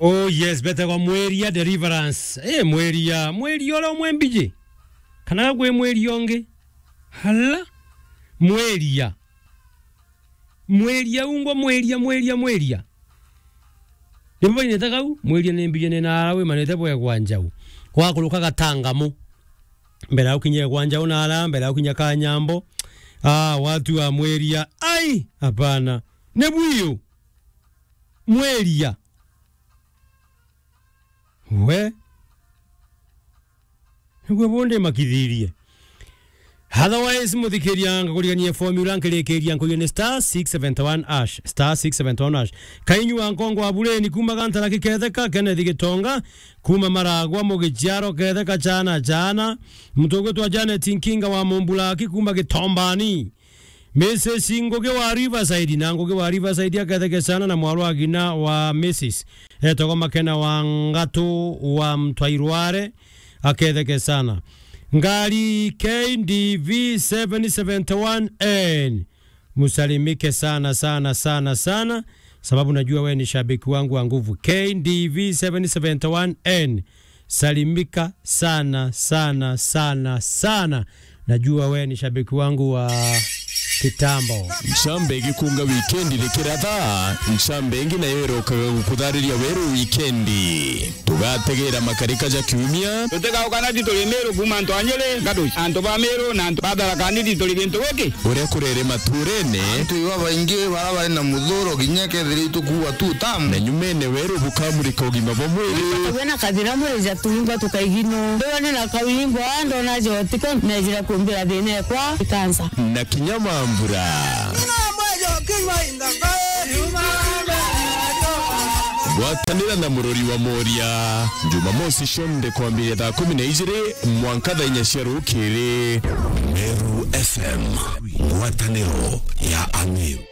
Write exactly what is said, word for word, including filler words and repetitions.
Oh yes, betagwa Mwiria Deliverance. Eh, Mwiria, Mwiria uria umwe mbiji? Kana gwe Mwiria ungi? Hala? Mwiria. Mwiria ungwa, Mwiria, Mwiria, Mwiria. Nibo bainete kau, Mwiria ni mbiji ni nara wimanite bwegwa njau. Wakuruka Gatangamu. Mbere ya gukinya gwa njau nara, mbere ya gukinya Kanyambo. Ah, watu wa Mwiria. Ai, hapana. Ni bwiyo. Mwiria. We. Niguo bundi makithirie. Otherwise, muthikiria, ngakurigania formula, nkirikiria, nkuria ni star six seventy one hash, star six seventy one hash. Kainyu wa Nkongo wa Bureni, kuma Gantara Kiketheka, Kenneth Gitonga, kuma Maragwa, Mugichiaro Ketheka, chana, chana. Mutugwitwa Janet Nkinga wa Mumbulaki, kuma Gitombani. Missus Ngugi wa Riverside, na Ngugi wa Riverside aketheke sana na mwarwa agina wa Missus etagwa Makena wa Ngatu wa Mtwairware, aketheke sana. Ngari K D V seven seventy one N, musalimike sana, sana, sana, sana, sababu najua we ni shabiki wangu wa nguvu. K D V seven seventy one N, salimika sana, sana, sana, sana. Najua we ni shabiki wangu wa kitambo. Ncambe igikunga wikendi rikiratha, ncambe ingi nayo irokaga gukuthariria weru wikendi. Tugategera makarika ja kiumia. Tutigauka na tituri Miru kuma antu a Nyeri, Ngatu, antu ba Miru na antu ba Tharaka Nithi turi gintu giki. Uria kurere maturene. Antu iba baingi bara bari na muthuro kinya kethira itukuwa tu tamu. Na nyumene weru bukamurika ugima bwa mwiri. Tuwe na kathira mwiri ja tuingwa tukaigino. Ndiwa ni na kawingwa ndona jotika nejira kumbira thina ekwa ikansa. Na kinya mambura. Gwatanira na murori wa Moria. Jumamosi cionthe kwambiria thaa kumi na ijiri mwanka thaa inya cia rukiri. Meru F M, ngwataniro ya Amiru.